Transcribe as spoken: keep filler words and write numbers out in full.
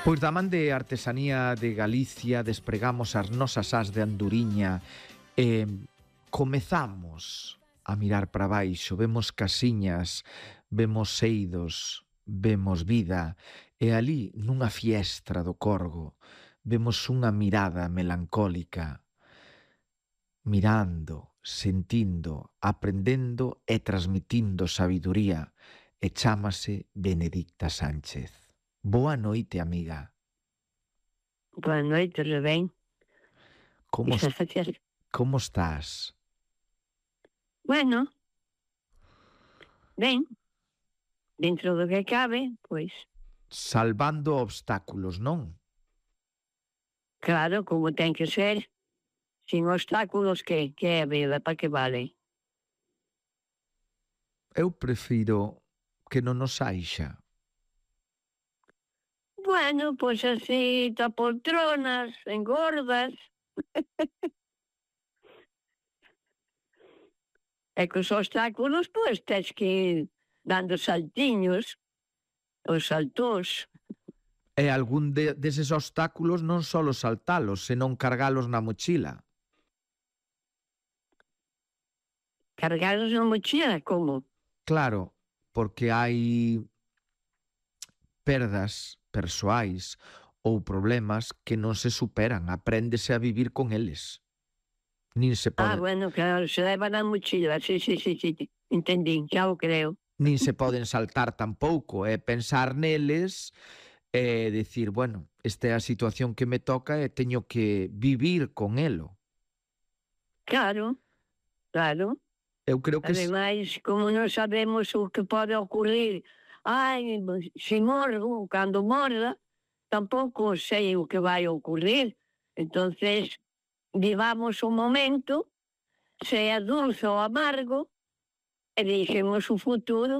Pois da man de Artesanía de Galicia despregamos as nosas as de anduriña e comezamos a mirar para baixo, vemos casiñas, vemos seidos, vemos vida, e ali nunha fiestra do Corgo vemos unha mirada melancólica, mirando, sentindo, aprendendo e transmitindo sabiduría, e chámase Benedicta Sánchez. Boa noite, amiga. Boa noite, Rubén. Como, como estás? Bueno, ben, dentro do que cabe, pois. Salvando obstáculos, non? Claro, como ten que ser. Sin obstáculos, que? Que é a vida? Para que vale? Eu prefiro que non nos haixa. Bueno, pois así, ta poltronas, engordas. E cos obstáculos, pois, tens que ir dando saltiños, os saltós. E algún de, deses obstáculos non só saltalos, senón cargalos na mochila. Cargalos na mochila, como? Claro, porque hai perdas persoais ou problemas que non se superan, apréndese a vivir con eles. Nin se poden... Ah, bueno, claro, se leva na mochila, sí, sí, sí, sí, entendín, xa o creo. Nin se poden saltar tampouco, é pensar neles e dicir, bueno, esta é a situación que me toca e teño que vivir con elo. Claro, claro. Eu creo que... Ademais, como non sabemos o que pode ocurrir, ai, se morro, cando morra, tampouco sei o que vai ocurrir. Entonces, vivamos o momento, sea dulce ou amargo, e deixemos o futuro